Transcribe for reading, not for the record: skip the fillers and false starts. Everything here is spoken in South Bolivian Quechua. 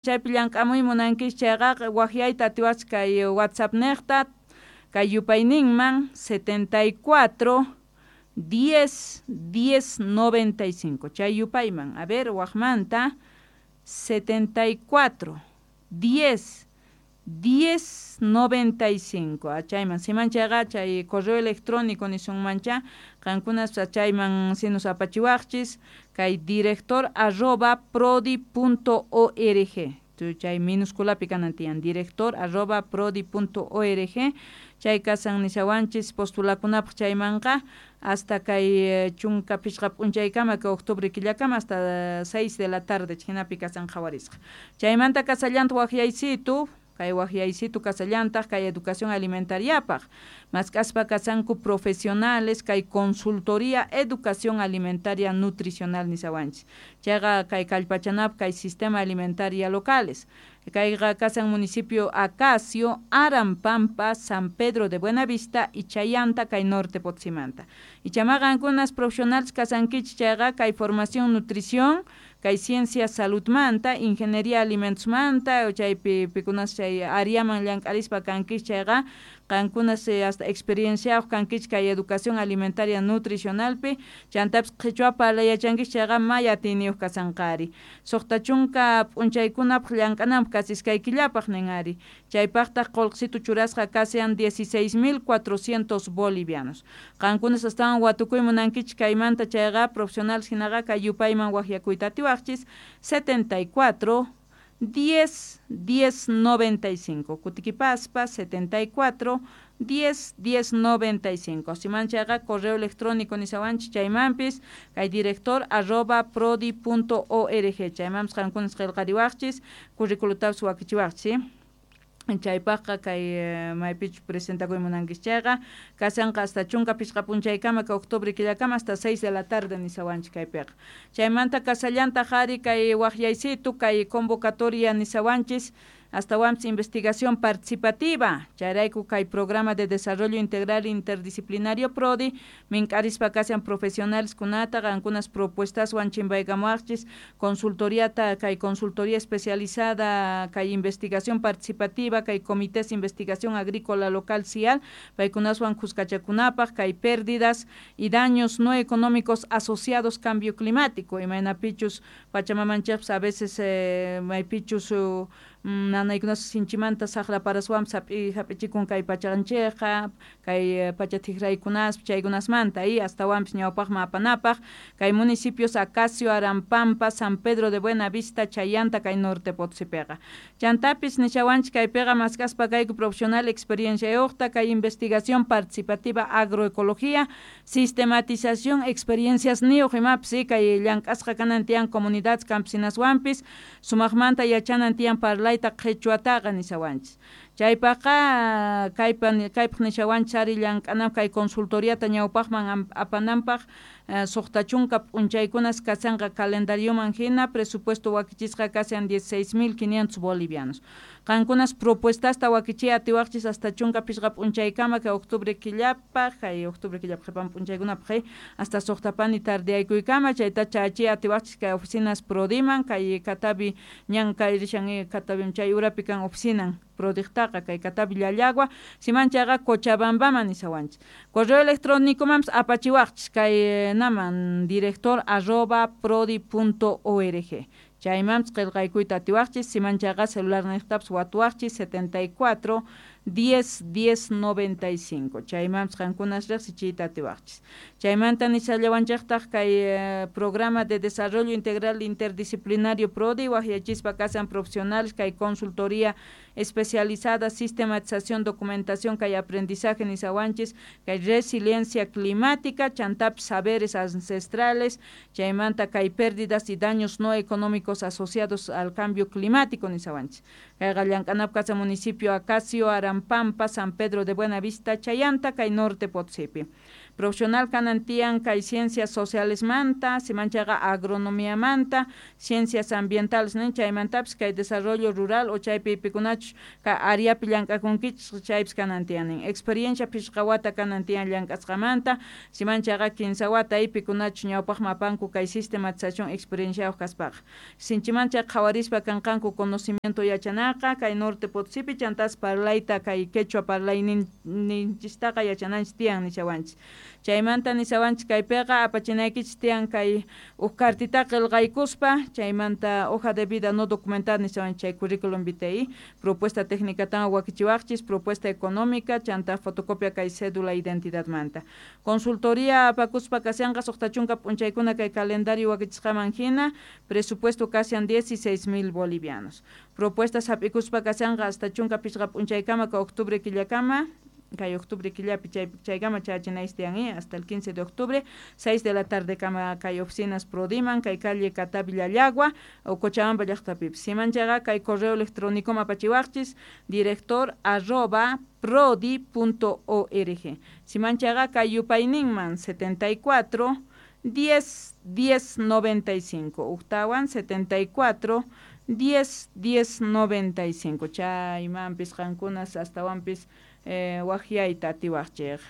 Chaypi llank'amuy munankichis chayqa waqyayta atiwachis kay WhatsApp niqta kay yupayninman 74 10 10 95 chay yupayman. A ver, waqmanta 74 10 10 95 chayman siman chayqa chay correo electrónico nisunmancha qankunas chayman sinus apachiwaqchis kay director arroba prodi punto org chay minusculapi kanan tiyan director arroba prodi punto org chay kasan nishawanchis postulakunapaq chaymanqa hasta kay chunka pichqa p'unchaykama kay octubre killakama hasta 6 de la tarde chhinapi kasan qhawarisqa chaymanta kasallanta waqyaysitu kay waqyaysitu kasallantaq kay educación alimentariapaq mask'aspa kasanku profesionales kay consultoría educación alimentaria nutricional nishawanchis chayqa kay kallpachanapaq kay sistema alimentaria locales kayqa kasan municipio Acacio, Arampampa, San Pedro de Buenavista y Chayanta kay Norte Potsimanta y chamaqankunas profesionales kasankichis chayqa kay formación nutrición kay ciencia salud manta, ingeniería alimentos manta, chaypi pikunas chay áreaman llank'arispa kankichis chayqa qankunas hasta experienciayuq kankichis kay educación alimentaria nutricionalpi chantapis qhichwa parlay yachankichis chayqa may atiyniyuq kasanqari suqta chunka p'unchaykunapaq llank'ananpaq casi iskay killapaq nin ari chaypaqtaq qullqisitu churasqa kasian 16.400 bolivianos qankunas astawan watukuy munankichis kaymanta chayqa profesionales hinaqa kay yupayman waqyakuyta atiwaqchis 74 10 10 95 kutikipaspa 74 10 10 95 siman chayqa correo electrónico nishawanchis chaymanpis kay director arroba prodi punto org chaymanpis qankunas qillqariwaqchis curriculutapis wakichiwaqchis chaypaqqa kay maypichus presentakuy munankichis chayqa kasanqa hasta chunka pichqa p'unchaykama kay octubre killakama hasta 6 de la tarde nishawanchis kaypiqa chaymanta kasallantaq ari kay waqyaysitu kay convocatoria nishawanchis astawanpis investigación participativa chayrayku kay programa de desarrollo integral interdisciplinario PRODI mink'arispa kasian profesionales kunata qankunas propuestaswan chimpaykamuwaqchis consultoriata kay consultoría especializada kay investigación participativa kay comités investigación agrícola local CIAL paykunaswan khuskachakunapaq kay pérdidas y daños no económicos asociados cambio climático imaynapichus pachamamanchikpis a veces maypichus nanaykunas sinchimanta saqra paraswanpis hap'ichikun kay pachanchikqa kay pacha t'ikraykunaspi chaykunasmanta y astawanpis ñawpaqman apanapaq kay municipios Acacio, Arampampa, San Pedro de Buenavista, Chayanta kay Norte Potosipiqa chantapis nishawanchik kaypiqa mask'aspa kayku profesional experienciayuqta kay investigación participativa agroecología sistematización experiencias niyuq imapis kay llank'asqa kanan tiyan comunidades campesinaswanpis sumaqmanta yachanan tiyan parlayta qhichwataqa nishawanchis chaypaqqa kaypaq nishawanchis ari llank'anapaq kay consultoriata ñawpaqman apananpaq suqta chunka p'unchaykunas kasanqa calendarioman hina presupuesto wakichisqa kasian 16.500 bolivianos qankunas propuestasta wakichiy atiwaqchis hasta chunka pichqa p'unchaykama kay octubre killapaq kay octubre killapaq qhipan p'unchaykunapaq hasta suqtapani tardeyaykuykama chayta chachiy atiwaqchis kay oficinas Prodiman kay Catavi ñan kay rishan Catavi chay urapi kan oficinan Prodiqtaqa kay Catavi Llallagua siman chayqa Cochabambaman nishawanchis correo electrónicomanpis apachiwaqchis kay naman director arroba prodi punto org chaymanpis qillqaykuyta atiwaqchis siman chayqa celular niqtapis watuwaqchis 74 10 10 95 chaymanpis qankunas riqsichiyta atiwaqchis chaymanta nishallawanchiktaq kay programa de desarrollo integral interdisciplinario PRODI waqyachispa kasan profesionales kay consultoría especializada sistematización documentación kay aprendizaje nishawanchis kay resiliencia climática chantapis saberes ancestrales chaymanta kay pérdidas y daños no económicos asociados al cambio climático nishawanchis kayqa llank'anapaq kasan municipio Acacio, Arampampa, San Pedro de Buenavista, Chayanta, kay Norte Potosipi. Profesional kanan tiyan kay ciencias socialesmanta, simanchaqa agronomiamanta, ciencias ambientales nin, chaymantapis kay desarrollo rural o chaypi pikunachus kay areapi llank'akunkichis chaypis kanan tiyan nin. Experiencia phishqa wata kanan tiyan llank'asqamanta, simanchaqa 15 wata pikunachus ñawpaqman apanku kay sistematización experienciayuq kaspaqa. Sinchimancha qhawarispa kanqanku conocimiento yachanaqa kay Norte Potosipi, chantas parlayta kay quechua parlayninchistaqa yachananchis tiyan nishawanchis. Chaymanta nishawanchis kaypiqa apachinaykichis tiyan kay uj cartita qillqaykuspa, chaymanta hoja de vida no documentada nishawanchis chay currículum vitae, propuesta técnica wakichiwaqchis, propuesta económica, chanta fotocopia kay cédula identidadmanta. Consultoría apakuspa kashanqa 60 p'unchaykuna kay calendario wakichisqaman hina, presupuesto kashan 16,000 bolivianos. Propuestas hap'ikuspa kashanqa hasta 15 p'unchaykama ka octubre killakama, kay octubre killapi chaykama chayachinaychis tiyan, hasta el 15 de octubre, 6 de la tarde kama kay oficinas Prodiman, kay calle Catavi Llallagua o Cochabamba llaqtapipis. Simanchaqa kay correo electrónico apachiwaqchis director@prodi.org. Simanchaqa kay yupayninman 74 10 10 95, uktawan 74 10 10 95. Chaymanpis qankunas astawanpis waqyayta atiwaqchik.